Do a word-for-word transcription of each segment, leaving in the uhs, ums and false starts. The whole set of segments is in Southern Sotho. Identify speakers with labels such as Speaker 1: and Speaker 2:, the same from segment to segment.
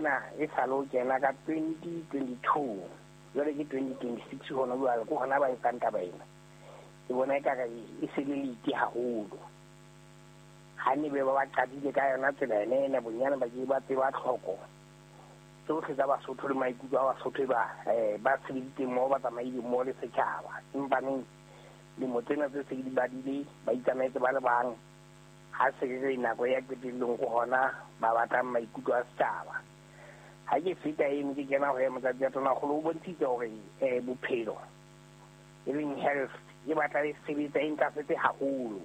Speaker 1: ona e sa lo kena ka twenty twenty-two jwale ke twenty twenty-six hona jwale ko hona ba etsang taba ena. Ke bona ekare e se le late haholo. Ha ne be ba ba qadile ka yona tsela ena ena bonyane ba ke ba tseba tlhoko tsohle tsa Basotho le maikutlo a Basotho ba eh ba sebeditse mo ba tsamaile mo le setjhaba. Empa neng lemo tsena tse se di badile ba itsamaetse ba le bang ha se ke nako ya qetellong ko hona ba batlang maikutlo a setjhaba. Ha ke feta eno ke kena ho ya motsatsi ya Tonakgolo o bontshitse hore eh bophelo e leng health e batla e sebetsa e ntlafetse haholo.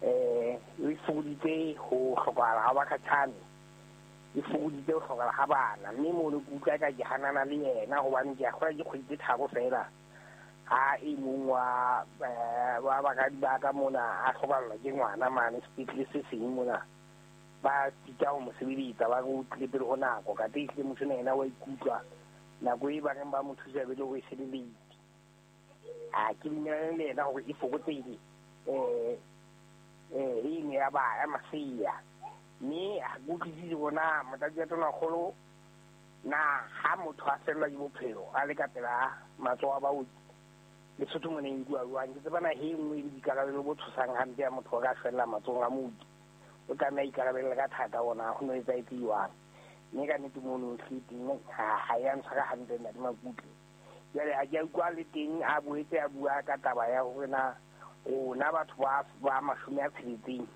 Speaker 1: Eh e fokoditse ho hlokahala ha bakhatjhane, e fokoditse ho hlokahala ha bana, mme mono ke utlwa ka ke hanana le yena hobane ke a kgolwa ke kgwedi tse tharo feela ha e mong wa wa bakadi ba ka mona a hlokallwa ke ngwana mane sepetlele se seng mona ba sita ho mo sebeletsa ba re o tlile pele ho nako ka teng ehlile motho ena yena wa ikutlwa nako e ba reng ba mo thusa be le hore e se le late. A ke dumellane le yena hore e fokotsehile eh eh eno ya ba ya masea, mme ha ke utlwisise bona motlatsi wa Tonakgolo na ha motho a fellwa ke bophelo a le ka pela matsoho a baoki Lesotho mona e nkuwa jwang. Ke tseba naha e nngwe e le boikarabelo bo tshosang hampe ya motho o ka fella matsohong a mooki o tlameha ikarabella ka thata ona ho no etsahetse jwang. Mme ka nnete mono hle teng ha ya ntshwara hantle ntate Makutle. Jwale ha ke a utlwa le teng a boetse a bua ka taba ya hore na rona batho ba ba mashome a tsheletseng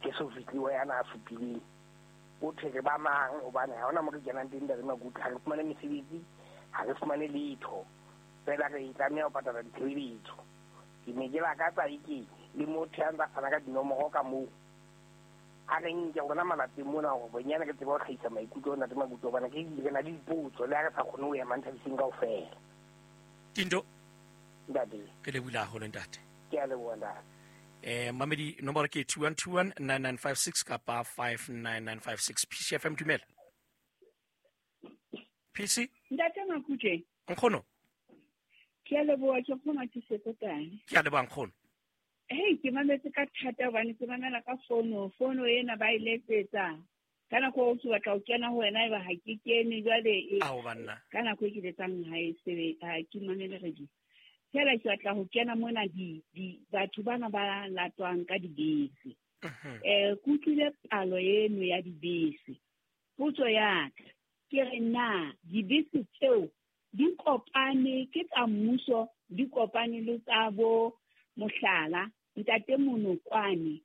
Speaker 1: ke so fihle ya na a supileng o thwe re ba mang hobane ha hona mo re kenang teng ntate Makutle, ha re fumane mesebetsi, ha re fumane letho fela re tlameha ho patala ditshebeletso. Ke ne ke lakatsa eke le motho ya ntsa fana ka dinomoro ka moo a re nke rona malapeng mona hore bonyane re tsebe ho hlahisa maikutlo ntate Makutle hobane ke re na le dipotso le ha re sa kgone ho ya Manthabiseng kaofela.
Speaker 2: Tindo
Speaker 1: ntate,
Speaker 2: ke lebohile haholo ntate.
Speaker 1: Ke a leboha ntate.
Speaker 2: Eh mamedi nomoro ke two one two one nine nine five six kapa five nine nine five six. P C F M dumela. P C
Speaker 3: Ntate Makutle.
Speaker 2: Nkgono.
Speaker 3: Ke a leboha ke kgona ke sekotane.
Speaker 2: Ke a leboha nkgono.
Speaker 3: Hey, ke mametse ka thata hobane ke mamela ka fono, fono ena ba e letsetsa. Ka nako o ke batla ho kena ho wena eba ha ke kene jwale e.
Speaker 2: Ao banna.
Speaker 3: Ka nako e ke letsang ha e sebe ha ke mamele radio. Fela ke batla ho kena mona di di batho bana ba latwang ka dibese. Eh ke utlwile palo eno ya dibese. Potso ya ka ke re na dibese tseo di kopane ke tsa mmuso, di kopane le tsa bo mohlala ntate Monokwane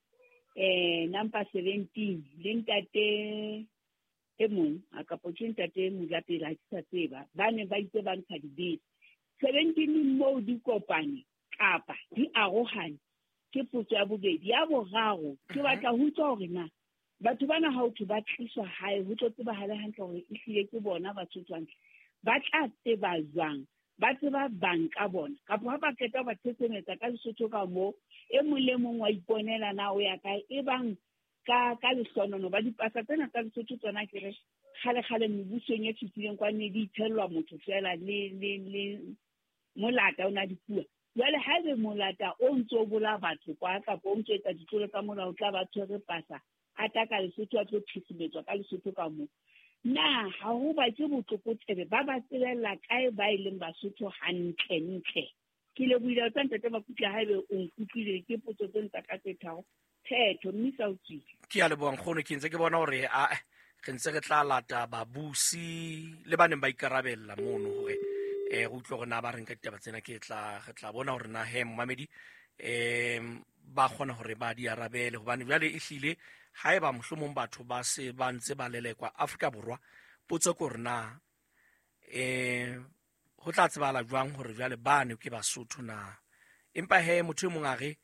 Speaker 3: eh number seventeen le ntate e mong a kapo ke ntate Mojapela ke sa tseba ba ne ba itse ba ntsha dibese seventeen moo di kopane kapa di arohane. Ke potso ya bobedi. Ya boraro ke batla ho utlwa hore na batho bana ha o thwe ba tliswa hae ho tlo tsebahale hantle hore ehlile ke bona Basotho hantle ba tla tseba jwang, ba tseba bang ka bona kapa ha ba qeta ba thesemetsa ka Lesotho ka moo e mong le mong wa iponela na o ya kae e bang ka ka lehlonono ba dipasa tsena tsa Lesotho tsona ke re kgale kgale mebusong e fetileng kwa ne di ithellwa motho fela le le le molata o na di bua. Jwale haebe molata o ntso bolaya batho kwa kapa o ntso etsa ditlolo tsa molao tla ba tshwere pasa a tla ka Lesotho a tlo thesumetswa ka Lesotho ka moo. Na ha ho ba ke botlokotsebe ba ba tsebella kae ba e leng Basotho hantle ntle. Ke lebohile tsa ntate Makutle haebe o nkutlwile ke potso tse ntsa ka tse tharo phetho mme sa o tswile.
Speaker 2: Ke a leboha nkgono, ke ntse ke bona hore a re ntse re tla lata babusi le ba neng ba ikarabella mono hore eh re utlwe hore na ba reng ka ditaba tsena. Ke tla re tla bona hore na he momamedi eh ba kgona hore ba di arabele hobane jwale ehlile haeba mohlomong batho ba se ba ntse ba lelekwa Afrika Borwa, potso ke hore na eh ho tla tsebala jwang hore jwale bane ke Basotho na. Empa he motho e mong a re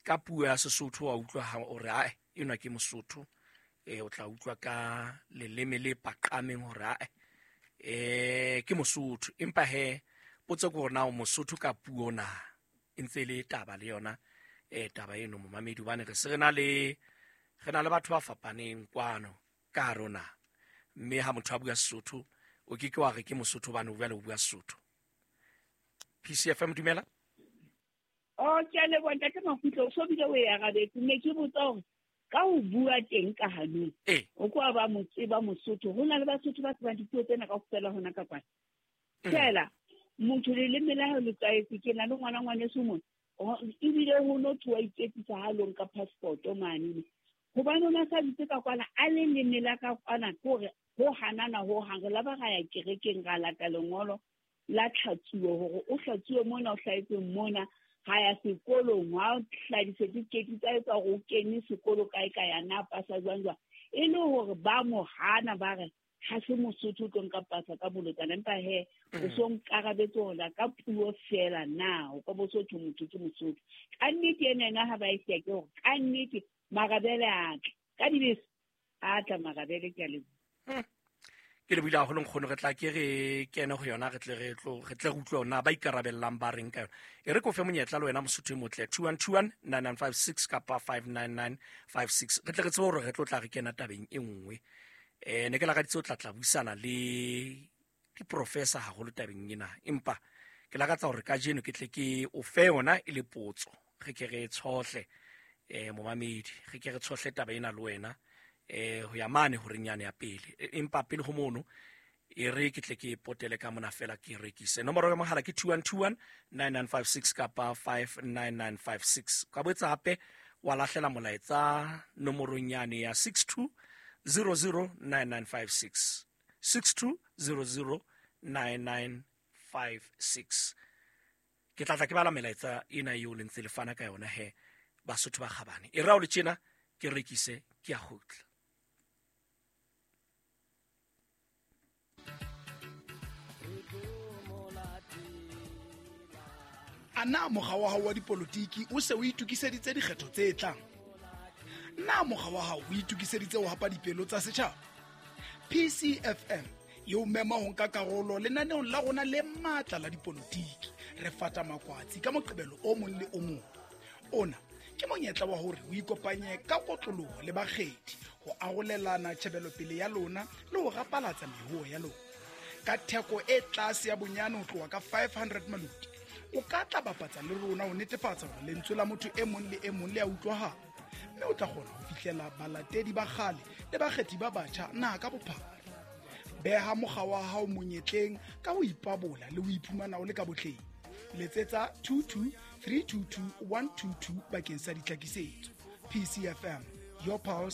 Speaker 2: ka puo ya Sesotho wa utlwa hore ae enwa ke Mosotho, eh o tla utlwa ka leleme le paqameng hore ae eh ke Mosotho. Empa he potso ke hore na o Mosotho ka puo na, e ntse le taba le yona eh taba eno momamedi, hobane re se re na le re na le batho ba fapaneng kwano ka rona, mme ha motho a bua Sesotho o ke ke wa re ke Mosotho hobane o bua le o bua Sesotho. P C F M dumela.
Speaker 3: Oh, ke a leboha ntate Makutle, o so bile o e arabetse. Ne ke botsa hore Ka ho bua teng ka hanong o kwa ba mo tseba Mosotho ho na le Basotho ba tsebang dipuo tsena kaofela hona ka kwana. Fela motho leleme la hae le tlwaetse. Ke na le ngwana ngwaneso mona ebile ho no thoa iketsisa ha lo nka passport mane hobane o na sa bitse ka kwana a le leme la ka kwana ke hore ho hanana ho hang. Re la ba ra ya kerekeng ra lata lengolo la tlhatsuo hore o hlatsuwe mona o hlahetse mona ha ya sekolong ha o hla dicertificate tsa etsa hore o kene sekolo kae kae ya na pasa jwang jwang. E le hore ba mo hana ba re ha se Mosotho o tlo nka pasa ka bolotsana empa he o so nkarabetse hore ka puo fela na o ka Bosotho motho ke Mosotho. Ka nnete ena ena ha ba e siya ke hore ka nnete marabele a tla ka dibese a tla marabele ke a leboha.
Speaker 2: Ke le buile haholo nkgono, re tla ke re kene ho yona re tle re tlo re tle re utlwe hore na ba ikarabellang ba reng ka yona. E re ko fe monyetla le wena Mosotho e motle two one two one nine nine five six kapa five nine nine five six re tle re tsebe hore re tlo tla re kena tabeng e nngwe. Eh ne ke lakaditse o tla tla buisana le diprofessor haholo tabeng ena, empa ke lakatsa hore kajeno ke tle ke o fe yona e le potso re ke re tshohle eh momamedi re ke re tshohle taba ena le wena eh ho ya mane hore nyane ya pele. Empa pele ho mono e re ke tle ke potele ka mona fela ke rekise nomoro ya mohala ke two one two one nine nine five six kapa five nine nine five six. Ka boetsa hape wa lahlela molaetsa nomorong yane ya six two zero zero nine nine five six six two zero zero nine nine five six. Ke tla tla ke bala melaetsa ena eo le ntse le fana ka yona he Basotho ba kgabane. E rao le tjena ke rekise ke a kgutla.
Speaker 4: A na mokga wa hao wa dipolotiki o se o itokiseditse dikgetho tse tlang? Na mokga wa hao o itokiseditse ho hapa dipelo tsa setjhaba? P C F M e o mema ho nka karolo lenaneong la rona le matla la dipolotiki. Re fata makwatsi ka Moqebelo o mong le o mong. Ona ke monyetla wa hore o ikopanye ka kotloloho le bakgethi ho arolelana tjhebelopele ya lona le ho rapalatsa mehoho ya lona. Ka theko e tlase ya bonyane ho tloha ka five hundred maloti, o ka tla bapatsa le rona ho netefatsa hore lentswe la motho e mong le e mong le a utlwahala, mme o tla kgona ho fihlela balatedi ba kgale le bakgethi ba batjha naha ka bophara. Beha mokga wa hao monyetleng ka ho ipabola le ho iphumana o le ka botleng. Letsetsa two two three two two one two two bakeng sa ditlhakisetso. P C F M, your pulse.